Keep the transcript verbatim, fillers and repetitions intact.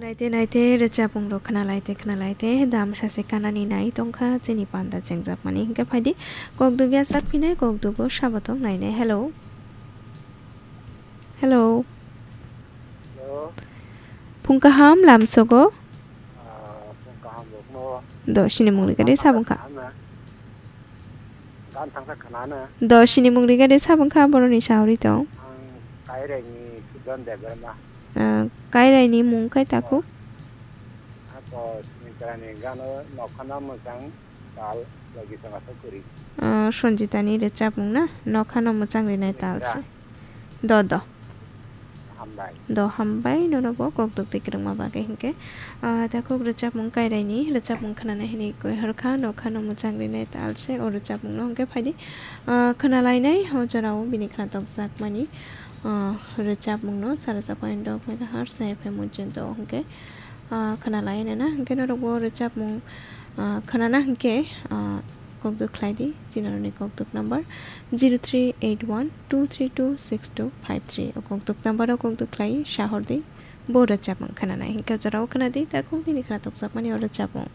Naite naite rwchapmung rok khna laite khna laite dam sase kanani nai tongkha chini panda chengjak mani hinkhe phaidi kok dugya sak phinai kok dugo sabo tong nainai. Hello. Hello. Hello. Phung kaham lamsogo. Ah, phung kaham rokno. Do sini mungri gade sabung kha. Gan thangsa khana na. Do sini mungri gade sabung kha boroni sauri tong. Ang Kairai ni Sudan Debbarma. Ah, Kairai ni mung kai taku. Ako sini terani gano nokhana mojang. Tal, logi sanga sokori. Ah, Sanjita ni rwchapmung na? Nokhano mwchang rinai tal se. Do, do. Hambai. Do, hambai, norokbo kokduk twi kwrwngma bagwi hinkhe. Ah, takhuk rwchapmung Kairai ni rwchapmung khwnana hinwi koi horkha, nokhano mwchang rinai tal se o rwchapmung no hinkhe phaidi. Ah, khwnalainai o jorao bini khwnatok jakmani, ah, rwchapmung no sara chakwa indo khaikha har se F M Mujinto hinkhe. Ah, khwnalai nana hinkhe norokbo rwchapmung, ah, khwnana hinkhe, ah, kokduk khlai di, chini norokni kokduk number zero three eight one two three two six two five three. O kokduk number o kokduk khlai sahor di, bo rwchapmung khwnanai hinkhe jorao khwna di, takhuk nini khwnatok jakmani o rwchapmung.